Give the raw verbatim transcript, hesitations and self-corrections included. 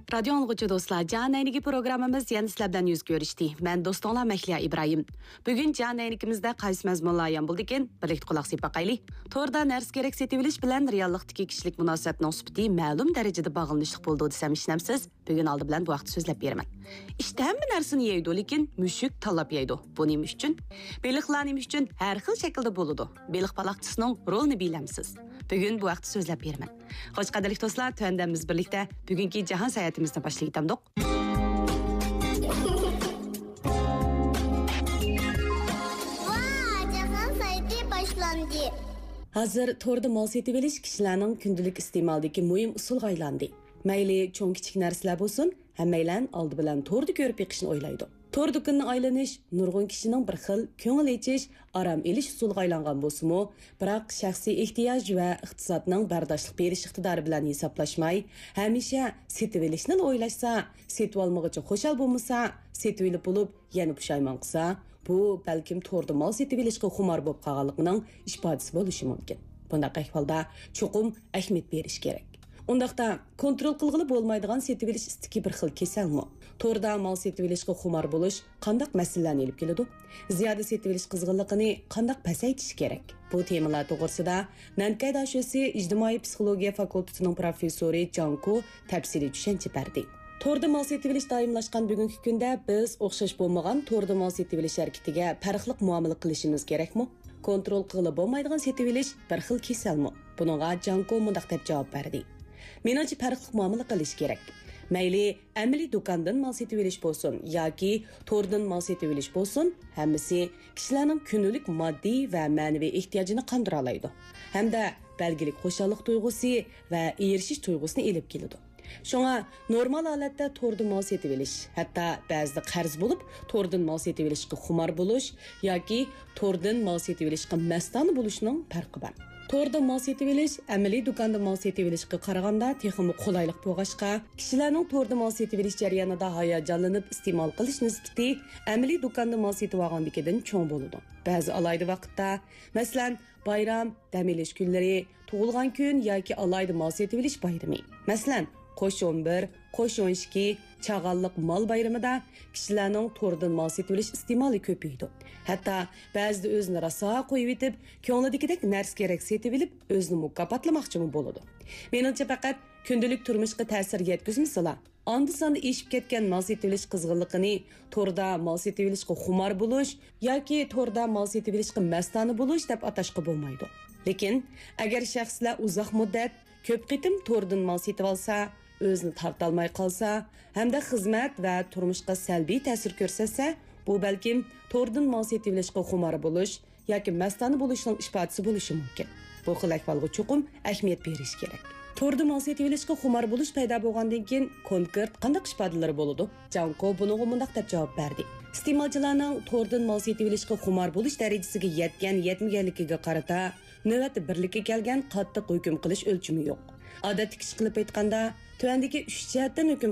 رادىيو ئاڭلىغۇچى دوستلار، جان ئەينىكى پروگراممىمىز يەنە سىلەر بىلەن يۈز كۆرۈشتى. مەن دوستۇڭلار مەھلىيا ئىبراھىم. بۈگۈن جان ئەينىكىمىزدە قايسى مەزمۇنلار ئايان بولىدىكەن؟ بىرلىكتە قۇلاق سېلىپ باقايلى. توردا نەرسە-كېرەك سېتىۋېلىش بىلەن رېئاللىقتىكى كىشىلىك مۇناسىۋەتنىڭ سۈپىتى مەلۇم دەرىجىدە باغلىنىشلىق بولىدۇ دېسەم ئىشىنەمسىز؟ بۈگۈن ئالدى بىلەن بۇ ھەقتە سۆزلەپ بېرىمەن. ئىت ھەممە نەرسىنى يەيدۇ، لېكىن مۈشۈك تاللاپ يەيدۇ. بۇ نېمە ئۈچۈن؟ بېلىقلار نېمە ئۈچۈن ھەر خىل شەكىلدە بولىدۇ؟ بېلىق بالاقچىسىنىڭ رولىنى بىلەمسىز؟ بۈگۈن بۇ ھەقتە سۆزلەپ بېرىمەن. خوش، قەدىرلىك دوستلار، تۆۋەندە بىز بىرلىكتە بۈگۈنكى جاھان ساياھىتىمىزنى باشلىۋېتەمدۇق. ۋا، جاھان ساياھىتى باشلاندى. ھازىر توردا مال سېتىۋېلىش كىشىلەرنىڭ كۈندىلىك ئىستېمالىدىكى مۇھىم ئۇسۇلغا ئايلاندى. مەيلى چوڭ-كىچىك نەرسىلەر بولسۇن، ھەممەيلەن ئالدى بىلەن توردا كۆرۈپ بېقىشنى ئويلايدۇ. تور دۇكىنىنى ئايلىنىش نۇرغۇن كىشىنىڭ بىر خىل كۆڭۈل ئېچىش، ئارام ئېلىش ئۇسۇلىغا ئايلانغان بولسىمۇ، بىراق شەخسىي ئېھتىياج ۋە ئىقتىسادنىڭ بەرداشلىق بېرىش ئىقتىدارى بىلەن ھېسابلاشماي، ھەمىشە سېتىۋېلىشنىلا ئويلاشسا، سېتىۋالمىغۇچە خۇشال بولمىسا، سېتىۋېلىپ بولۇپ يەنە پۇشايمان قىلسا، بۇ بەلكىم توردا مال سېتىۋېلىشقا خۇمار بولۇپ قالغانلىقىنىڭ ئىپادىسى بولۇشى مۇمكىن. بۇنداق ئەھۋالدا چوقۇم ئەھمىيەت بېرىش كېرەك. ئۇنداقتا، كونترول قىلغىلى بولمايدىغان سېتىۋېلىش ئىستىكى بىر خىل كېسەلمۇ؟ توردا مال سېتىۋېلىشقا خۇمار بولۇش قانداق مەسىلىلەرنى ئېلىپ كېلىدۇ؟ زىيادە سېتىۋېلىش قىزغىنلىقىنى قانداق پەسەيتىش كېرەك؟ بۇ تېمىلار توغرىسىدا نەنكەي داشۆسى ئىجتىمائىي پسىخولوگىيە فاكۇلتېتىنىڭ پروفېسسورى جاڭ كو تەپسىلىي چۈشەنچە بەردى. توردا مال سېتىۋېلىش دائىملاشقان بۈگۈنكى كۈندە بىز ئوخشاش بولمىغان توردا مال سېتىۋېلىش ھەرىكىتىگە پەرقلىق مۇئامىلە قىلىشىمىز كېرەكمۇ؟ كونترول قىلغىلى بولمايدىغان سېتىۋېلىش بىر خىل كېسەلمۇ؟ بۇنىڭغا جاڭ كو مۇنداق دەپ جاۋاب بەردى: مېنىڭچە، پەرقلىق مۇئامىلە قىلىش كېرەك. مەيلى ئەمەلىي دۇكاندىن مال سېتىۋېلىش بولسۇن ياكى توردىن مال سېتىۋېلىش بولسۇن، ھەممىسى كىشىلەرنىڭ كۈندىلىك ماددىي ۋە مەنىۋى ئېھتىياجىنى قاندۇرالايدۇ ھەمدە بەلگىلىك خۇشاللىق تۇيغۇسى ۋە ئېرىشىش تۇيغۇسىنى ئېلىپ كېلىدۇ. شۇڭا نورمال ھالەتتە توردىن مال سېتىۋېلىش، ھەتتا بەزىدە قەرز بولۇپ توردىن مال سېتىۋېلىشقا خۇمار بولۇش ياكى توردىن مال سېتىۋېلىشقا مەستانە بولۇشنىڭ پەرقى بار. توردا مال سېتىۋېلىش ئەمەلىي دۇكاندا مال سېتىۋېلىشقا قارىغاندا تېخىمۇ قولايلىق بولغاچقا، كىشىلەرنىڭ توردا مال سېتىۋېلىش جەريانىدا ھاياجانلىنىپ ئىستېمال قىلىش نىسبىتى ئەمەلىي دۇكاندا مال سېتىۋالغاندىكىدىن چوڭ بولىدۇ. بەزى ئالاھىدە ۋاقىتتا، مەسىلەن، بايرام، دەم ئېلىش كۈنلىرى، تۇغۇلغان كۈن ياكى ئالاھىدە مال سېتىۋېلىش بايرىمى، مەسىلەن، قوش ئون بىر، قوش ئون ئىككى، چاغانلىق مال بايرىمىدا كىشىلەرنىڭ توردىن مال سېتىۋېلىش ئىستېمالى كۆپىيىدۇ. ھەتتا بەزىدە ئۆزىنى راسا قويۇۋېتىپ، كۆڭلىدىكىدەك نەرسە-كېرەك سېتىۋېلىپ، ئۆزىنى مۇكاپاتلىماقچىمۇ بولىدۇ. مېنىڭچە، پەقەت كۈندىلىك تۇرمۇشقا تەسىر يەتكۈزمىسىلا، ئاندا-ساندا ئېشىپ كەتكەن مال سېتىۋېلىش قىزغىنلىقىنى توردا مال سېتىۋېلىشقا خۇمار بولۇش ياكى توردا مال سېتىۋېلىشقا مەستانە بولۇش دەپ ئاتاشقا بولمايدۇ. لېكىن، ئەگەر شەخسلەر ئۇزاق مۇددەت، كۆپ قېتىم توردىن مال سېتىۋالسا، ئۆزىنى تارتالماي قالسا ھەمدە خىزمەت ۋە تۇرمۇشقا سەلبىي تەسىر كۆرسەتسە، بۇ بەلكىم توردىن مال سېتىۋېلىشقا خۇمار بولۇش ياكى مەستانە بولۇشنىڭ ئىپادىسى بولۇشى مۇمكىن. بۇ خىل ئەھۋالغا چوقۇم ئەھمىيەت بېرىش كېرەك. توردا مال سېتىۋېلىشقا خۇمار بولۇش پەيدا بولغاندىن كېيىن، كونكرېت قانداق ئىپادىلىرى بولىدۇ؟ جاڭ كو بۇنىڭغا مۇنداق دەپ جاۋاب بەردى: ئىستېمالچىلارنىڭ توردىن مال سېتىۋېلىشقا خۇمار بولۇش دەرىجىسىگە يەتكەن-يەتمىگەنلىكىگە قارىتا، نۆۋەتتە بىرلىككە كەلگەن قاتتىق ھۆكۈم قىلىش ئۆلچىمى يوق. ئادەتتىكىچە قىلىپ ئېيتقاندا، تۆۋەندىكى ئۈچ جەھەتتىن ھۆكۈم